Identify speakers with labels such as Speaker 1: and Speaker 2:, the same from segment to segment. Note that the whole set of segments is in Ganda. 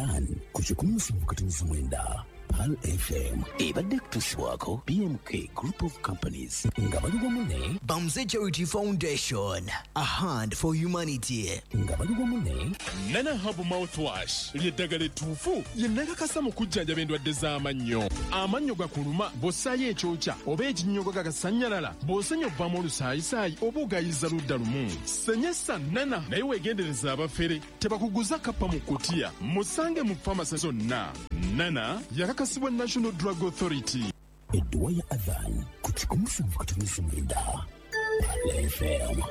Speaker 1: Adhan ku 107.9 Pearl FM ebadde kutuusibwako BMK Group of Companies nga bali wamu ne
Speaker 2: Bamze Charity Foundation, a hand for humanity.
Speaker 1: Nga bali wamu ne
Speaker 3: Nana Hab Mouthwash ly'eddagala ettuufu lye nakakasa mu kujjanjaba endwadde z'amannyo. Amannyo gakuluma, bw'ossaayo ekyokya oba ekinnyogo gagasannyalala, bw'osenya ovaamu olusaayisaayi oba ogayiza ludda lumu, senyesa Nana. Naye weegendereza abafere, tebakuguza kappa mu kutiya. Musange mu famasi zonna. Nana yakakasibwa National Drug Authority.
Speaker 1: Edduwa ya Adhan ku 107.9 Pearl FM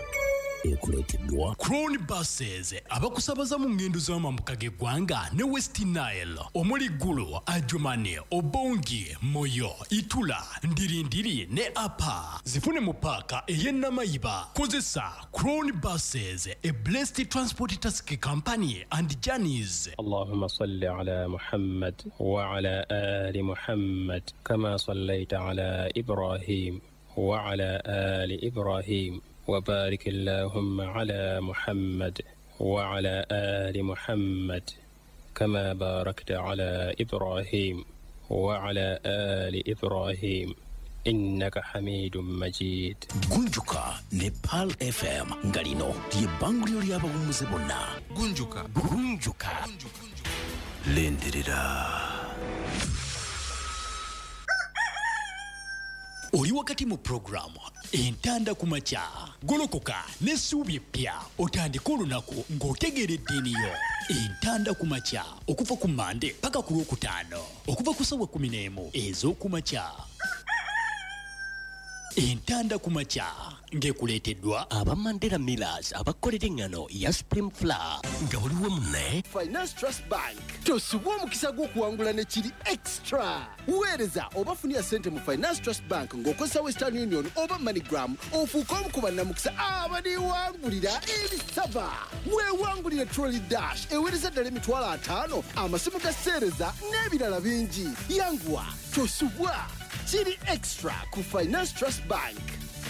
Speaker 1: ekuleeteddwa
Speaker 4: Crown Buses, abakusabaza mu ngendo z'amambuka g'eggwanga ne West Nile, omuli Gulu, Adjumani, Obongi, Moyo, Itula, Ndirindiri ne Apa. Zifune mu paaka ey'e Namayiba. Kozesa Crown Buses, a blessed transport taxi company and journeys.
Speaker 5: اللهم صل على محمد وعلى آل محمد كما صليت على إبراهيم وعلى آل إبراهيم، وبارك اللهم على محمد وعلى آل محمد كما باركت على إبراهيم وعلى آل إبراهيم، إنك حميد مجيد.
Speaker 1: Gunjuka ne Pearl FM, nga lino ly'ebbanguliro ly'abawummuze bonna.
Speaker 6: Gunjuka.
Speaker 1: Gunjuka.
Speaker 6: Lindirira.
Speaker 4: Oli wakati mu puroguramu Entanda ku Makya. Golokoka n'essuubi eppya, otandike olunaku ng'otegeera eddiini yo. Entanda ku Makya, okuva ku Mande paka ku Lwokutaano, okuva ku ssaawa 11 ez'okumakya. Entanda ku Makya ng'ekuleeteddwa
Speaker 7: aba Mandela Millers, abakolera eŋŋano ya Supreme Flour.
Speaker 1: Nga buli wamu ne
Speaker 8: Finance Trust Bank. Tosubwa omukisa gw'okuwangula ne kiri extra. Weereza oba funira ssente mu Finance Trust Bank ng'okozesa Western Union oba MoneyGram, ofuuke omu ku bannamukisa abaliwangulira ebisaba. Weewangulire trolley dash eweereza ddala 50,000, amasimu ga seereza n'ebirala bingi. Yanguwa, tosubwa, kiri extra ku Finance Trust Bank.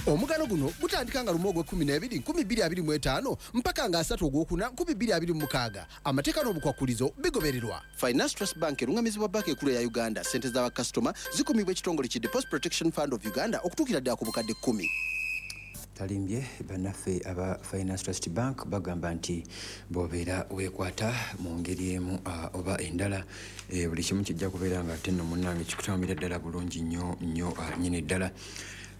Speaker 8: Omugano guno gutandika nga 1 ogw'e-12 2025 mpaka nga 3 ogwokuna 2026. Amateeka n'obukwakulizo bigobererwa. Finance Trust Bank erungamizibwa Banka Ekulu eya Uganda. Sente z'abakasitoma zikumibwa ekitongole ki Deposit Protection Fund of Uganda okutuukira ddala ku bukadde 10.
Speaker 9: Talimbye, bannaffe aba Finance Trust Bank bagamba nti bw'obeera weekwata mu ngeri emu oba endala, buli kimu kijja kubeera nga ate nno munnange kikutambulira ddala bulungi nnyo nnyo nnyini ddala.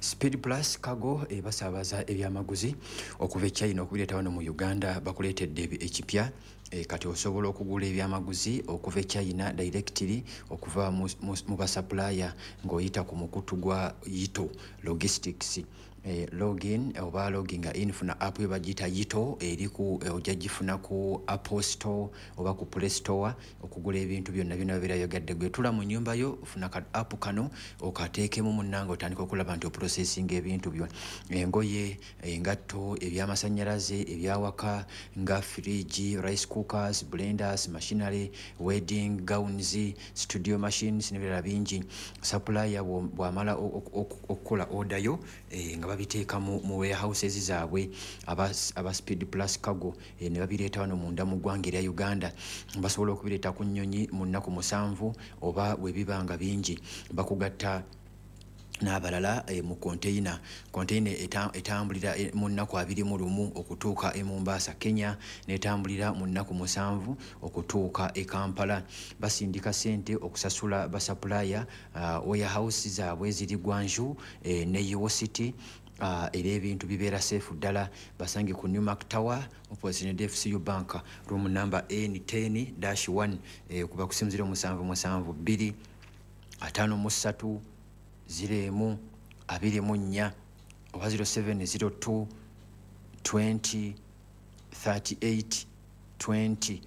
Speaker 9: Speed Plus Cargo ebasaabaza ebyamaguzi okuva e China okubireeta wano mu Uganda. Bakuleetedde ekipya. Kati osobola okugula ebyamaguzi okuva e China directly, okuva mu basupplier, ng'oyita ku mukutu gwa Yito Logistics. Login oba loginga in, funa app yo bagiyita Yito, eri ku ojja gifuna ku Apple Store oba ku Play Store. Okugula ebintu byonna byonna babeera yogadde. Gwe tula mu nnyumba yo, funa ka app kano okateekemu munnange, otandika okulaba nti oprocessing ebintu byo: engoye, engatto, ebyamasannyalaze, ebyawaka nga fridge, rice cookers, blenders, machinery, wedding gowns, studio machines n'ebirala bingi. Supplier bw'amala okukola order yo, nga babiteeka mu warehouses zaabwe aba Speed Plus Cargo, ne babireeta wano munda mu ggwanga erya Uganda. Basobola okubireeta ku nnyonyi mu nnaku 7, oba bwe biba nga bingi bakugatta n'abalala mu container. Container etambulira mu nnaku 21 okutuuka e Mombasa, Kenya, n'etambulira mu nnaku 7 okutuuka e Kampala. Basindika sente okusasula basupplier. Warehouse zaabwe ziri Guangzhou ne Yiwu City. Era ebintu bibeera safe ddala. Basange ku Newmark Tower, opposite ne FCU Bank, room number N10-1. Kuba ku simu 0772 53 01 24 oba 0702 20 38 20.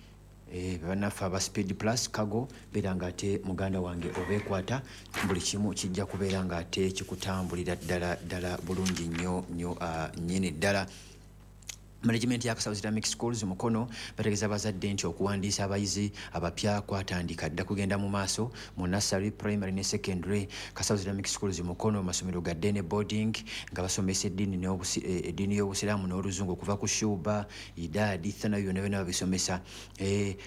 Speaker 9: Bannaffe aba Speed Plus Cargo, beera nga ate muganda wange obeekwata, buli kimu kijja kubeera nga ate kikutambulira ddala ddala bulungi nnyo nnyo nnyini ddala. Management ya Kasawo Islamic Schools Mukono bategeeza abazadde nti okuwandiisa abayizi abapya kwatandika dda kugenda mu maaso mu nursery, primary ne secondary. Kasawo Islamic Schools Mukono masomero ga day ne boarding nga basomesa eddiini y'Obusiraamu n'Oluzungu okuva ku Shuba, Idaadi, Thanawi, byonna byonna babisomesa.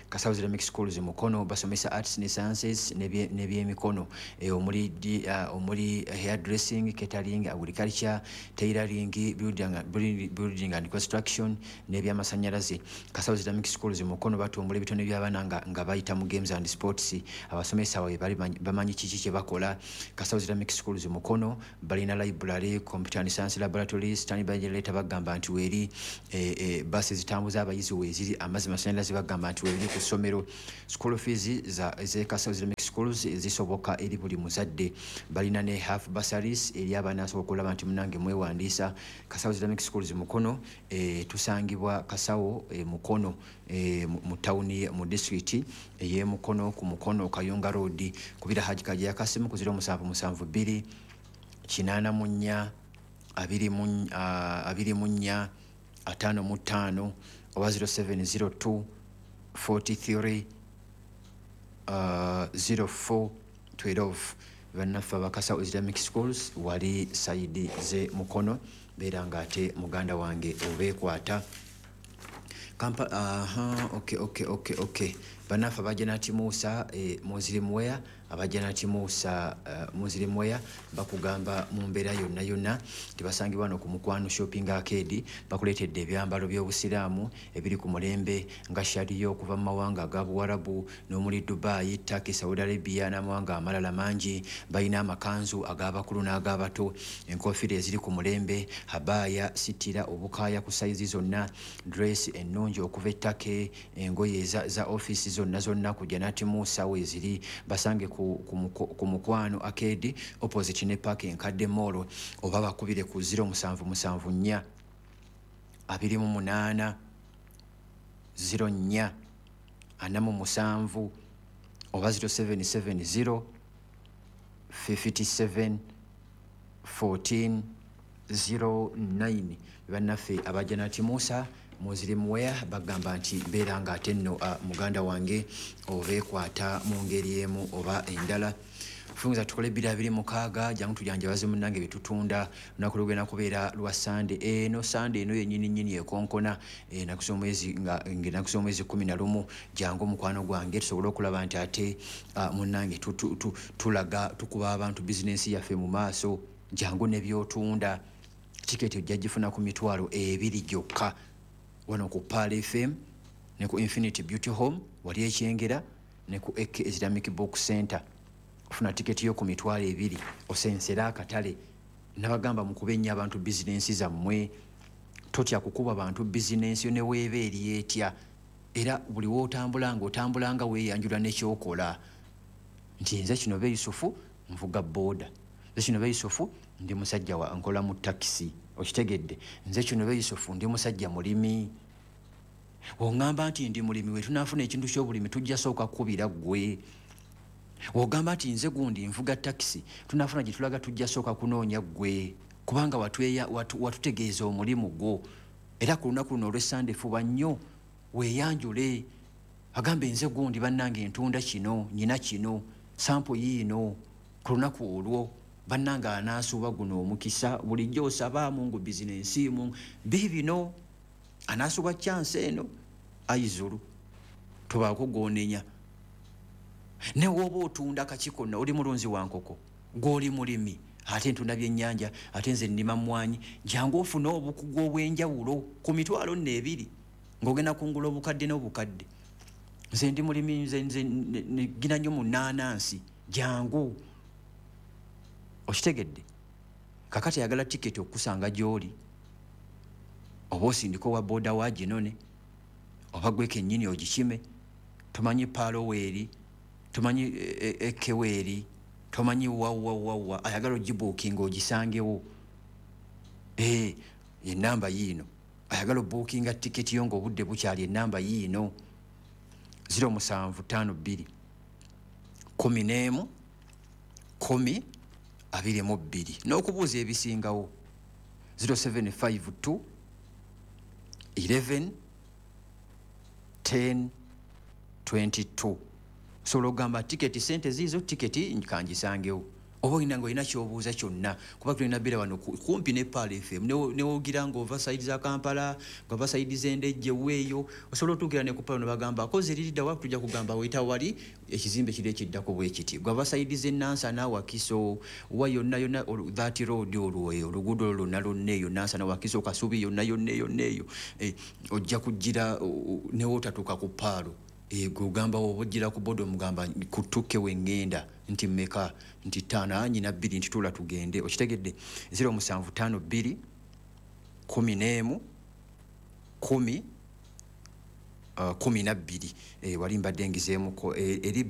Speaker 9: Kasawo Islamic Schools Mukono basomesa arts ne sciences n'ebyemikono omuli hair dressing, catering, agriculture, tailoring, building and construction n'ebyamasanyalaze. Kasawo Islamic Schools Mukono batumbula ebitone by'abaana nga bayita mu games and sports. Abasomesa baabwe bali bamanyi kiki kye bakola. Kasawo Islamic Schools Mukono balina library, computer and science laboratories, standby generator bagamba nti weeri, basi zitambuza abayizi weeziri, amazzi masanyalaze bagamba nti weeri ku ssomero. School fees z'e Kasawo Islamic Schools zisoboka eri buli muzadde. Balina ne half bursaries eri abaana asobola okulaba nti munange mwewandiisa. Kasawo Islamic Schools Mukono tusangibwa Kasawo Mukono mu tawuni mu disitulikiti ey'e Mukono ku Mukono Kayunga Road. Kubira Haji Kajeya Kasimu ku 0772 84 24 55 oba 0702 43 04 12. Bannaffe abakasawo Islamic Schools wali sayidi ze Mukono, beera nga ate muganda wange obeekwata. Aha, okay. Bannaffe abajanati Musa Muslim Wear, abajanati Musa Muslim Wear bakugamba mu mbeera yonna yonna tebasangibwa wano ku Mukwano Shopping Arcade. Bakuleetedde ebyambalo by'Obusiraamu ebiri ku mulembe nga shariya okuva mu mawanga aga Buwarabu n'omuli Dubai, Turkey, Saudi Arabia n'amawanga amalala mangi. Balina amakanzu ag'abakulu n'ag'abato, enkofiira eziri ku mulembe, habaya, sitira, obukaaya ku sayizi zonna, dress ennungi okuva e Turkey, engoye za ofiisi zonna zonna ku Janati Musa weeziri. Basange ku Mukwano Arcade opposite ne park enkadde mall, oba bakubire ku 0774 28 04 47 oba 0770 57 14 09. Bannaffe abajanati Musa Muslim Wear bagamba nti mbeera nga ate nno muganda wange obeekwata mu ngeri emu oba endala. Funza tukole 2026, jangu tujanjabaze munnange bitutunda. Lunaku lugenda kubeera lwa Sande eno, Sande eno yennyini nnyini ekonkona ennaku z'omwezi nga ennaku z'omwezi 11. Jangu mukwano gwange tusobole okulaba nti ate munnange tulaga tukuba abantu bizinensi yaffe mu maaso. Jangu ne by'otunda, tiketi ojja gifuna ku 20,000 gyokka wano ku Pearl FM ne ku Infinity Beauty Home wali Ekyengera ne ku AK Islamic Book Center. Ofuna tiketi yo ku 20,000 osensera akatale. Nabagamba mukube nnyo abantu bizinensi zammwe, totya kukuba bantu bizinensi yo ne weeba eri etya. Era buli w'otambula ng'otambula nga weeyanjula n'ekyokola nti nze kino be Yusufu nvuga booda, nze kino be Yusufu ndi musajja wa nkola mu takisi, okitegedde, nze kino be Yusufu ndi musajja mulimi. Oŋŋamba nti ndi mulimi, we tunaafuna ekintu ky'obulimi tujja sooka kukubira ggwe. Ogamba nti nze gundi nvuga takisi, tunaafuna gye tulaga tujja sooka kunoonya ggwe, kubanga watutegeeza omulimu gwo. Era ku lunaku luno olw'Essande fuba nnyo weeyanjule, agambe nze gundi bannange ntunda kino, nyina kino, sampo yiino. Ku lunaku olwo bannange anaasuuba guno omukisa, bulijjo osaba Mungu bizinensi mu biibino, anaasuuba chance eno ayizulu tobaako gw'onenya. Ne w'oba otunda kaki konna, oli mulunzi wa nkoko, gw'oli mulimi, ate ntunda byennyanja, ate nze nnima mmwanyi, jangu ofune obukugu obw'enjawulo ku 20,000 ng'ogenda kungula obukadde n'obukadde. Nze ndi mulimi, nze gina nnyo mu nnaanansi, jangu. Okitegedde? Kakati ayagala tiketi okukusanga gy'oli, oba osindika owa booda wa ginone, oba gwe kennyini ogikime, tomanyi paalo weeri, tomanyi ekeweeri, tomanyi wawawawa, ayagala ogibuukinga ogisangewo. Enamba yiino, ayagala obuukinga tiketi yo ng'obudde bukyali, enamba yiino 0752 11 10 22. N'okubuuza ebisingawo 0752 11 10 22. Osobola okugamba tiketi sente ziizo, tiketi kangisangewo, oba olina nga olina kyobuuza kyonna, kuba tulina bbeera wano kumpi ne Pearl FM. Newogira nga ova side za Kampala, nga ova side z'Endejje weeyo, osobola otuukira ne ku Pearl ne bagamba kozi eriridda wa, tujja kugamba weta wali ekizimbe kiri ekiddako bwe kiti. Gwava side z'e Nansana, Wakiso, wa yonna yonna that road olwo, oluguudo olwo lwonna lwonna eyo Nansana, Wakiso, Kasubi, yonna yonna yonna eyo, ojja kugira newootatuuka ku Pearl. Gwe ogamba oba ojjira ku boda, omugamba kutukke weŋŋenda nti mmeka, nti ttaano, nyina bbiri, nti tuula tugende. Okitegedde? 0752 11 10 12. Wali mbadde ngizeemuko, eri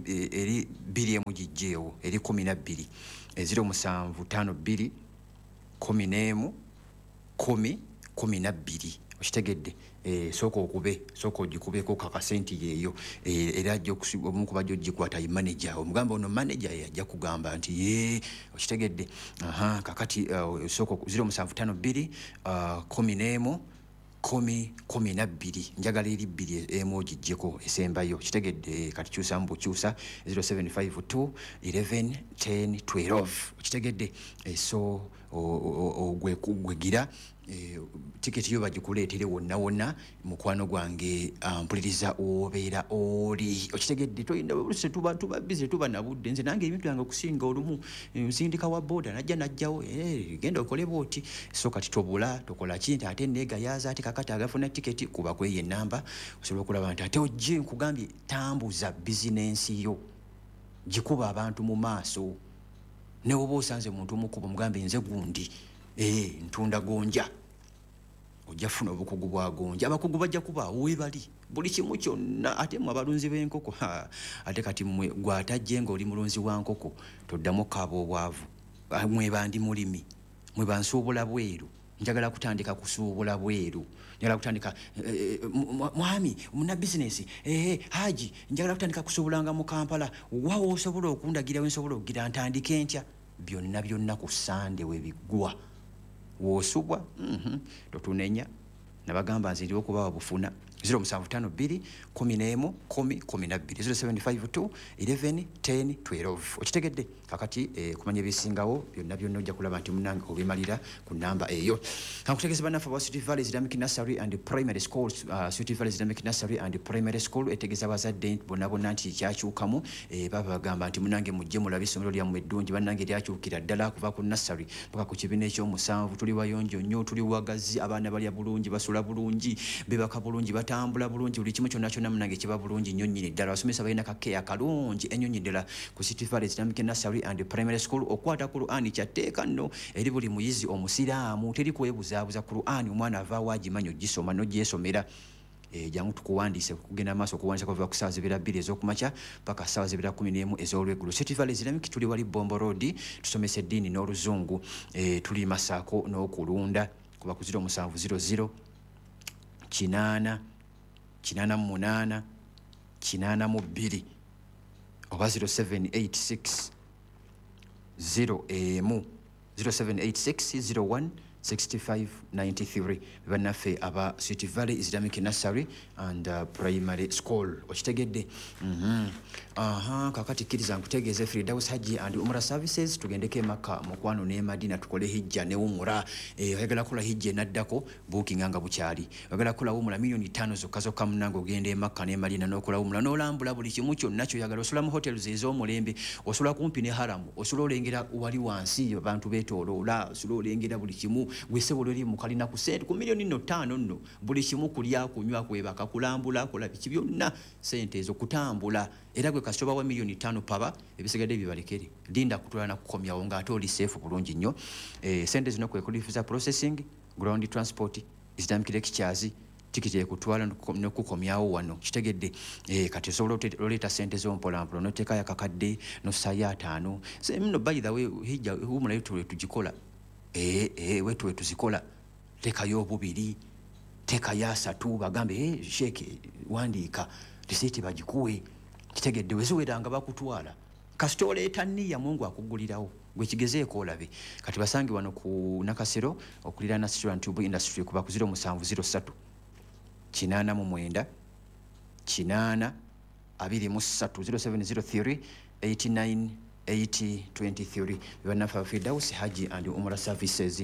Speaker 9: bbiri emu gijjeewo, eri 12. 0752 11 10 12. Okitegedde? Sooka okube, sooka ogikubeko kakasenti yeeyo. Era ajja omu ku bajja ogikwata ye manager. Omugamba ono manager ye ajja kugamba nti ye. Okitegedde? Aha, kakati sooka 0752 11 10 12. Njagala eri bbiri emu ogiggyeko esembayo. Kitegedde? Kati kyusamu bukyusa 0752 11 10 12. Okitegedde? So gwegira tiketi yo bagikuleetere wonna wonna, mukwano gwange mpuliriza obeera oli. Okitegedde? Toyinda oluusi tuba busy, tuba nabudde. Nze nange ebintu byange okusinga olumu nsindika wa boda najja najjawo, genda okole bwoti. So kati tobula tokola ki nti ate neegayaaza ate kakati agafuna tiketi, kuba kweyo enamba osobola okulaba nti ate ojje. Nkugambye, tambuza bizinensi yo, gikuba abantu mu maaso. Newoba osanze muntu omukuba, omugambe nze gundi, ntunda gonja, ojja funa obukugu bwa gonja. Abakugu bajja kubaawo webali buli kimu kyonna. Ate mmwe abalunzi b'enkoko, ate kati mmwe gwatajje ng'oli mulunzi wa nkoko, toddamu okaaba obwavu. Mwe bandi mulimi, mwe bansuubula bweru, njagala kutandika kusuubula bweru, njagala kutandika, mwami muna bizinesi, haji, njagala kutandika kusuubulanga mu Kampala, wawo osobola okundagira we nsobola okugira ntandike ntya? Byonna byonna ku Sande webiggwa woosubwa. Totunenya, nabagamba nze ndiwo okubawa bufuna. 0752 11 10 12, 0752 11 10 12. Okitegedde? Kakati kumanya ebisingawo byonna byonna ojja kulaba nti munange obimalira ku namba eyo. Kankutegeeza bannaffe aba City Valley Islamic Nursery and Primary School. City Valley Islamic Nursery and Primary School etegeeza abazadde bonna bonna nti kyakyukamu. Baba bagamba nti munange mujje mulabe essomero lyammwe eddungi. Bannange lyakyukira ddala kuva ku nursery paka ku kibiina ekyomusanvu. Tuli wayonjo nnyo, tuli wagazi, abaana balya bulungi, basula bulungi, bebaka bulungi, batambula bulungi, buli kimu kyonna kyonna munange kiba bulungi nnyo nnyini ddala. Abasomesa balina kakeya kalungi ennyo nnyini ddala ku City Valley Islamic Nursery and Primary School. Okwata Qur'ani kyatteeka nno eri buli muyizi omusiraamu, teri kwebuzaabuza. Qur'ani omwana avaawo agimanyi ogisoma n'ogyesomera. Jangu tukuwandiise. Kugenda maaso okuwandiisa kuva ku ssaawa 2 ez'okumakya paka ssaawa 11 ez'olweggulo. City Valley Islamic, tuli wali Bombo Road, tusomesa eddiini n'oluzungu, tuli masaako n'okulunda. Kuba ku 0700 8 88 82 oba 0786 0 emu, 0786 01 6593. Bannaffe aba City Valley Islamic Nursery and Primary School. Okitegedde? Aha, kakati kkiriza nkutegeeze Firdaus Hajji and Umra Services. Tugendeko Emaka mukwano ne Madina, tukole hijja ne umura. Oyagala kukola hijja enaddako, bookinga nga bukyali. Oyagala kukola umura, miliyoni 5 zokka zokka munange, ogenda Emaka ne Madina n'okola umura n'olambula buli kimu kyonna kyoyagala. Osula mu hotels ez'omulembe, osula kumpi ne haramu, osula olengera wali wansi abantu beetooloola, osula olengera buli kimu. Gwe eri mu kalina ku sente ku miliyoni nno 5 nno, buli kimu, kulya, kunywa, kwebaka, kulambula, kola biki byonna, sente ezo kutambula. Era gwe kasita obawa miliyoni 5 paba, ebisigadde bibalekere, linda kutwala na kukomyawo ng'ate oli safe bulungi nnyo. Sente zino kwe kuli visa processing, ground transport, Islamic lectures, tikiti ekutwala n'okukomyawo wano. Kitegedde? Kati osobola oleeta sente zo mpolampola noteekayo akakadde nossaayo 5. Nno by the way, hijja umulayo tuwe tugikola, wetuwe tuzikola, teekayo obubiri, teekayo asatu, bagambe sheeke wandiika risiiti bagikuwe. Kitegedde? Weziweranga bakutwala, kasita oleeta nniya, Mungu akugulirawo. Gwe kigezeeko olabe. Kati basange wano ku Nakasero okuliraana City Tube Industry. Kuba ku 0703 89 8 23 0703 89 80 23. Bannaffe Firdaus Haji and Umrah Services.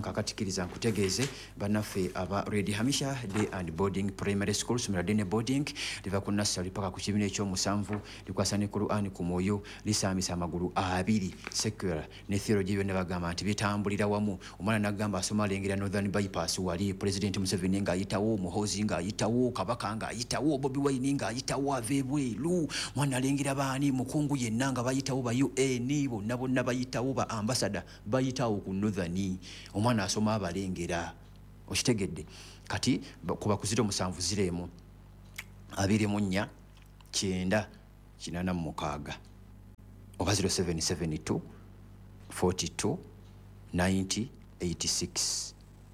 Speaker 9: Kakati kkiriza nkutegeeze bannaffe aba Red Hamisha Day and Boarding Primary School, ssomero ddene boarding, liva ku nursery paka ku kibiina ekyomusanvu, likwasa ne Quran ku mwoyo, lisaamisa amagulu abiri, secular ne theology byonna bagamba nti bitambulira wamu. Omwana n'agamba asoma alengera Northern Bypass, wali President Museveni ng'ayitawo, Muhoozi ng'ayitawo, Kabaka ng'ayitawo, Bobi Wine ng'ayitawo, ava ebweru. Mwana alengera baani, mukungu yenna nga bayitawo, ba UN bonna bonna bayitawo, ba ambassador bayitawo ku Northern. Omwana asoma abalengera, okitegedde? Kati kuba ku 07 01 24 9 86 oba 0772 42 90 86.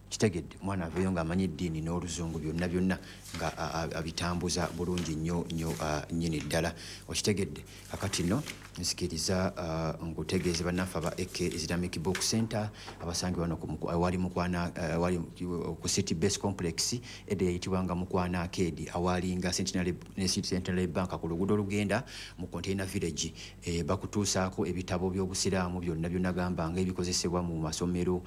Speaker 9: Kitegedde? Omwana aveeyo ng'amanyi eddiini n'oluzungu byonna byonna nga abitambuza bulungi nnyo nnyo nnyini ddala, okitegedde? Kakati nno nsikiriza nkutegeeze bannaffe aba AK Islamic Book Center abasangibwa wano awali Mukwana, awali ku City Base Complex, edda eyitibwanga Mukwana Arcade, awalinga Centenary, ne Centenary Bank ku luguudo olugenda mu Container Village. Bakutuusaako ebitabo by'obusiraamu byonna byonna, gamba nga ebikozesebwa mu masomero,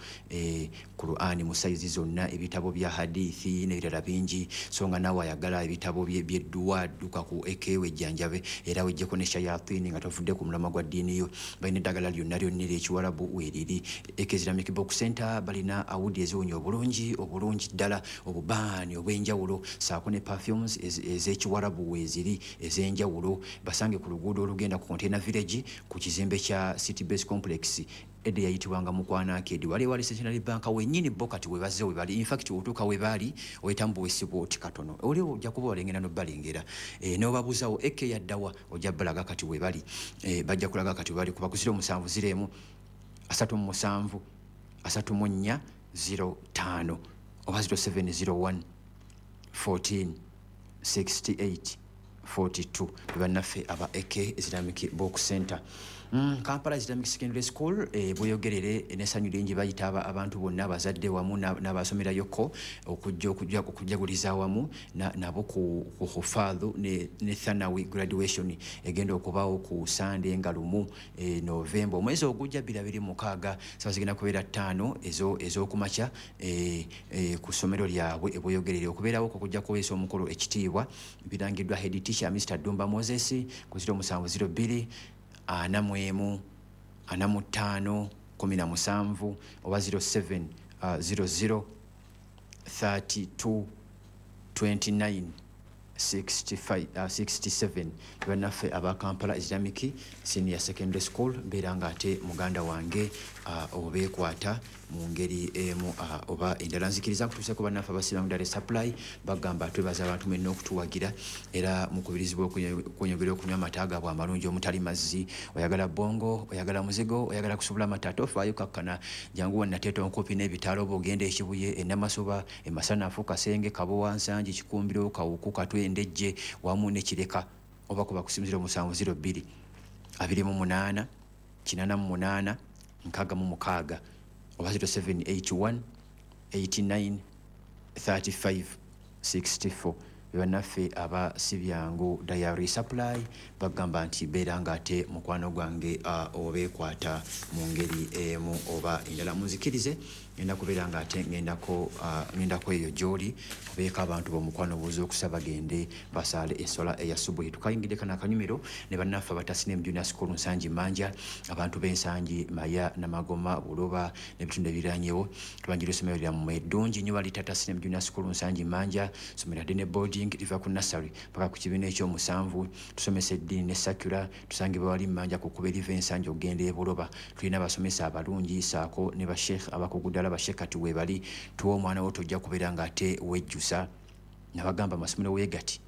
Speaker 9: Quran mu sayizi zonna, ebitabo bya hadithi n'ebirala bingi. So nga naawe ayagala ebitabo by'edduwa, dduka ku AK wejjanjabe era wejjeko ne shayatini nga tovudde ku mulamwa gwa ddiini yo. Balina eddagala lyonna lyonna ery'ekiwarabu weeriri. AK Islamic Book Center balina awudi eziwunya obulungi obulungi ddala, obubaani obw'enjawulo saako ne perfumes ez'ekiwarabu weeziri ez'enjawulo. Basange ku luguudo olugenda ku Container Village ku kizimbe kya City Base Complex, edda yayitibwanga Mukwana Arcade, wali wali Centenary Bank wennyini. Bo kati we bazze we bali. In fact, otuuka we baali oyitamu buwesibwa oti katono, oli ojja kuba walengera n'obbalengera, n'obabuuzawo AK yaddawa, ojja balaga kati we bali. Bajja kulaga kati we bali. Kuba ku 07 01 37 34 05 oba 0701 14 68 42, bannaffe aba AK Islamic Book Center. Kampala Islamic Secondary School bweyogerere n'essanyu lingi bayita abantu bonna, abazadde wamu n'abasomerayoko, okujja okujaguliza awamu nabo ku hufaadhu ne thanawi graduation egenda okubaawo ku Sande nga 1 Novemba omwezi ogujja 2026, sawa zigenda kubeera 5 ez'okumakya ku ssomero lyabwe ebweyogerere. Okubeerawo okujja kuweesa omukolo ekitiibwa birangiddwa head teacher Mr. Dumba Moses ku 0702 41 45 17 oba 07 00 32 29 65, 67. Bannaffe aba Kampala Islamic Senior Secondary School, mbeera nga ate muganda wange obeekwata mu ngeri emu oba endala. Nzikiriza nkutuuseko bannaffe abasiramu Dairy Supply, bagamba twebaza abantu mwenna okutuwagira era mukubirizibwa okweyongera okunywa amata gaabwe amalungi omutali mazzi. Oyagala bongo, oyagala muzigo, oyagala kusubula amata, tofaayo, kakkana, jangu wannateeta onkopi n'ebitaalo, oba ogenda Ekibuye, Enamasuba, Emasanafu, Kasenge, Kabowa, Nsangi, Kikumbiro, Kawuku, Katwe, Ndejje wamu ne Kireka, oba kuba ku 0702 28 88 66 oba 0781 89 35 64. Bannaffe aba Sibyangu Dairy Supply bagamba nti beera nga ate mukwano gwange obeekwata mu ngeri emu oba endala. Munzikirize ngenda kubeera nga ate ngendako eyo gy'oli, obeeko abantu b'omukwano buuza okusaba gende basaale essola eya subuhi. Tukayingidde kano akanyumiro ne bannaffe abatasine mu Junior School Nsangi Manja, abantu b'Ensangi, Maya, Namagoma, Buloba n'ebitundu ebiriranyewo. Tubanjira essomero lyammwe eddungi nnyo baliyita Tasine Junior School Nsangi Manja, ssomero ddene boarding, liva ku nursery paka ku kibiina ekyomusanvu. Tusomesa eddiini ne secular. Tusangibwa wali Mmanja ku kkubo eriva Ensangi okugenda e Buloba. Tulina abasomesa abalungi saako ne basheikh abakugu ddala, basheikh kati weebali. Tuwa omwana wo, tojja kubeera ng'ate wejjusa. Nabagamba amasomero weegati,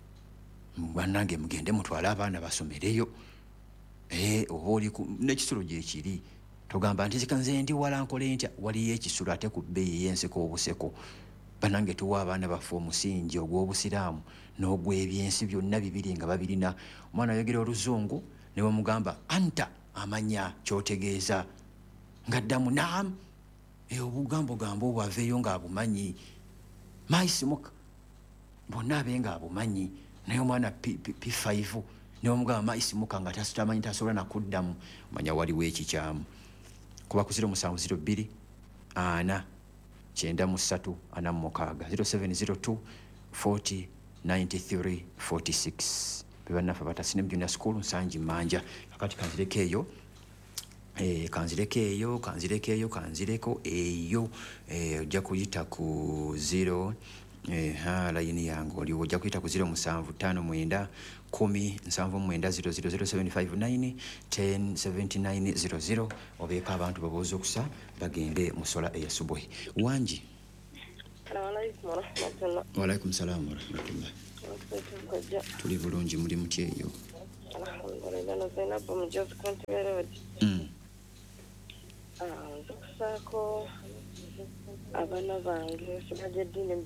Speaker 9: bannange mugende mutwale abaana basomereyo. Oba oli n'ekisulo gyekiri, togamba nti zika nze ndi wala nkole ntya, waliyo ekisulo ate ku bbeeyi ey'enseko obuseko. Bannange tuwa abaana baffe omusingi ogw'obusiraamu n'ogw'ebyensi byonna bibiri nga babirina. Omwana ayogera oluzungu ne bamugamba anta, amanya ky'otegeeza, ng'addamu naam. Obugambo gambo obwo aveeyo ng'abumanyi maisimuka. Bonna abe nga abumanyi. Naye omwana P5 newomugamba maisimuka nga tamanyi, tasobola nakuddamu, manya waliwo ekikyamu. Kuba ku 0702 4 93 46, 0702 40 93 46. Bebannaffe abatasine junior school Nsangi Manja. Kakati kanzireko eyo, kanzireko eyo, kanzireko eyo, kanzireko eyo. Ojja kuyita ku 0, layini yange oliwo, ojja kuyita ku 0759 10 79 00, 0759 10 79 00, obeeko abantu babooza okusa bagende mu sola eya subuhi. Wangi. Waalaikum salaamu warahmatullah. Tuli bulungi, muli mutya eyo?
Speaker 6: Nkusaako abaana bange, sibaje eddiini.